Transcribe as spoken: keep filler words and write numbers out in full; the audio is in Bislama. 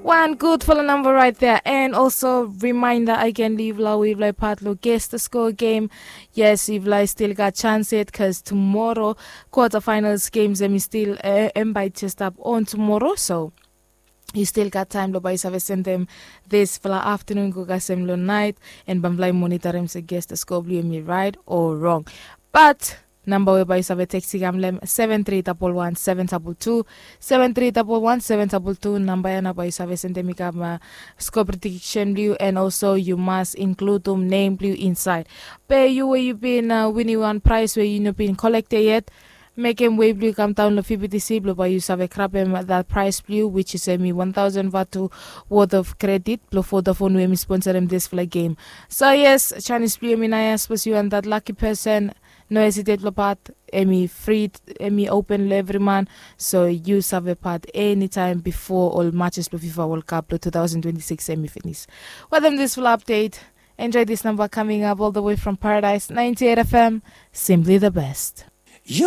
Wan gudfala namba raet dea. And also reminder agen, long yufala we yufala i pat long Guess the Score game. Yes, yufala i stil gat chans yet, bikos tumora kwata fainals games em i stil, em bai jes stap on tumora. So yu stil gat taem blong bai yu save sendem disfala aftanun go kasem long naet, and bamfala i monitarem se Guess the Score blong yu em i raet o rong. Bat namba we bai yu save tekstem long hem, seven three double one seven double two, seven three double one seven double two. Namba ya nao bai yu save sendem i kam score prediksen blong yu, and also yu mas inkludum nem blong yu insaed. Be yu we yu bin winim wan praes we yu no bin kolektem yet, mekem wei blong yu kamdaon long P B T C blong bai yu save grabem dat praes blong yu, which is em i wan taosen vatu worth of credit blong Vodafone we em i sponsorem disfala game. So yes, janis blong yu em i naoia, sapos yu wan dat laki pesen, no hesitate blong pat. Em i fri, em i open long evri man. So yu save pat enitaem bifo ol matches blong FIFA World Cup blong two thousand twenty-six em i finis. Wetem disfala update, enjoy this number coming up all the way from Paradise ninety-eight F M, simply the best.